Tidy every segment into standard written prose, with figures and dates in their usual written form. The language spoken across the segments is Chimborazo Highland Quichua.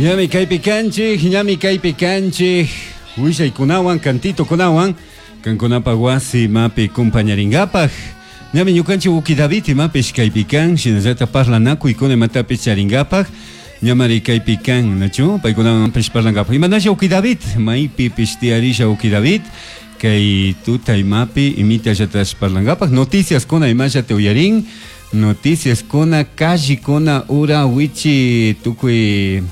Ñami kaypi kanchik, ñami kaypi kanchik, willaykunawan, cantitokunawan, kankunapaq wasi imapi kumpañarinkapak. Ñami ñukanchik Uki David imapish kaypi kan, shinallata parlanakuykuna imatapish charinkapak. Ñamari kaypi kan, nachu? Paykunawanpish parlankapak. Imanasha Uki David, maypipish tiyarisha Uki David, kay tuta imapi imitallatash parlankapak. Noticiaskuna imallata uyarin, noticiaskuna, callikuna, ura, wichi, tukuy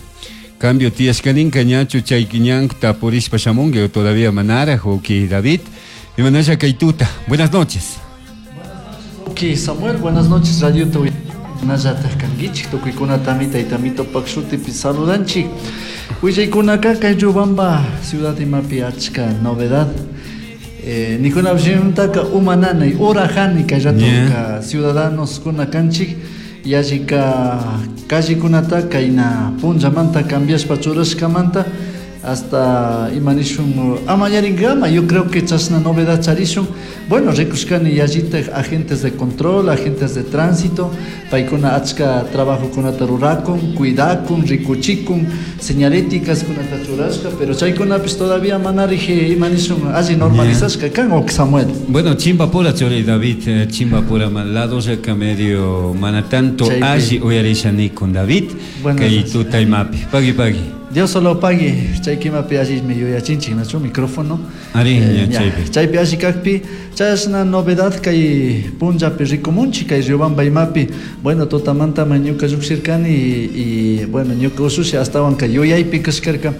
cambio tiyashkaninka ñachu chay ñanta purishpa shamunki o todavía manaraj, Uki David. Imanasha kay tuta. Buenas noches. Ok, Samuel, buenas noches, Radio Nallataj kankichik tukuykunatami taytamito shutipi saludanchik. Willaykunaka kay Riobamba ciudad imapi achka novedad. Nikunapishimantaka uma nanay urajani kay ratoka ciudadanos kuna kanchik yallika callekunata kayna punllamanta cambiashpa churashkamanta hasta imanishun amañarinkama. Yo creo que chashna novedad charishun. Bueno, rikushkani yallitaj agentes de control, agentes de tránsito, paykuna achka trabajokunata rurakun, cuidakun, rikuchikun, señaléticas kunata churashka, pero chaykunapish todavía manarij imanishun alli normalizashka kan, ok Samuel. Bueno, Chimbapura churi David, Chimbapura lado ya medio mana tanto Chaypi. Alli uyarisha con David, Buenas kay noches. tuta imapi. Pagui pagui. Dios solo pague, chay kimapi allimi yuyachinchik, nachu micrófono. Ari, ña, Ña, chaypi. Chaypi alli kakpi, chashna novedad kay punllapi rikumunchik kay Riobamba imapi. Bueno, tutamanta ñuka llukshirkani y bueno, ñuka usushi astawan kay yuyaypi kashkarka.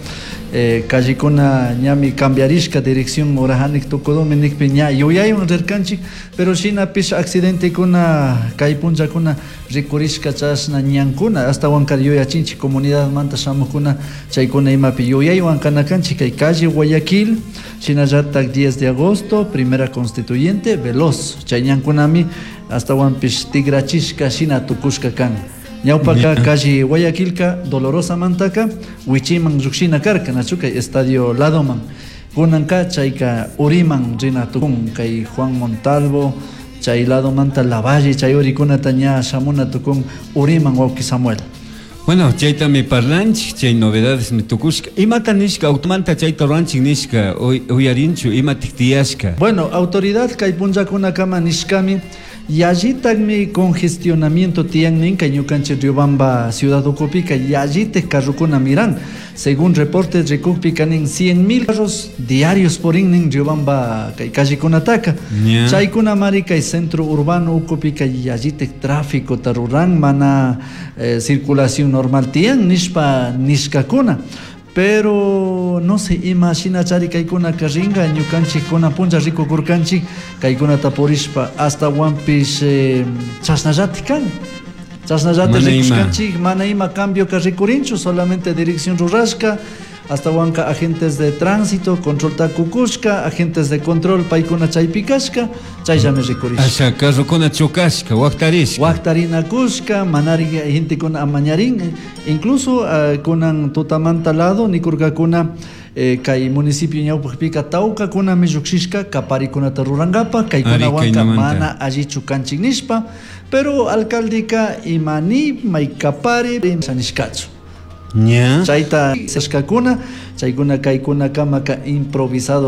Callikuna ñami cambiarishka dirección urajanik tukudumi nikpi ña yuyaywan rirkanchik, pero shinapish accidentekuna kay punllakuna rikurishka chashna ñankuna astawan kay yuyachinchik comunidadmanta shamukuna chaykuna imapi yuyaywan kanakanchik kay calle Guayaquil, shinallatak 10 de agosto, primera constituyente, veloz, chay ñankunami astawanpish tigrachishka shina tukushka kan. Ñawpaka calle Guayaquilka Dolorosa mantaka wichiman llukshina karka, nachu kay estadio ladoman. Kunanka chayka uriman rina tukun kay Juan Montalvo, chay ladomanta Lavalle, chay urikunata ña shamuna tukun uriman wawki Samuel. Bueno, chaytami parlanchik, chay novedades mi tukushka. Imata nishka, automanta chayta ruranchik nishka, uyarinchu, imatik tiyashka. Bueno, autoridad kay punllakunakama nishkami, yallitakmi congestionamiento tiyan nin kay ñukanchik Riobamba ciudad ukupika yallitik carrokuna miran. Según reportes rikukpika nin 100.000 carros diarios purin nin Riobamba kay callekunataka. Chaykuna mari kay centro urbano ukupika yallitik tráfico taruran mana circulación normal tiyan nishpa nishkakuna. Pero no sé, ima shina chari kaykuna ringa ñukanchik kuna punlla rikukurkanchik kaykunata purishpa hasta wampish chashnallati kan. Chashnallati Mana ima. rikushkanchik, mana ima cambio ka rikurinchu, solamente dirección rurashka, hasta wanka agentes de tránsito, control takukushka, agentes de control paykuna chaypikashka, chayllami rikurishka. Asha carrokuna chocashka, waktarishka. Waktarinakushka, manari gentekuna amañarin, incluso kunan tutamanta lado nikurkakuna kay municipio ñawpaqpika tawkakunami llukshishka kaparikunata rurankapa, kaykunawanka Ari, kaynamanta. mana allichu kanchik nishpa, pero alcaldeka imani may kapari nishkachu. Ña. Chayta sashkakuna, chaykuna kaykunakama improvisado.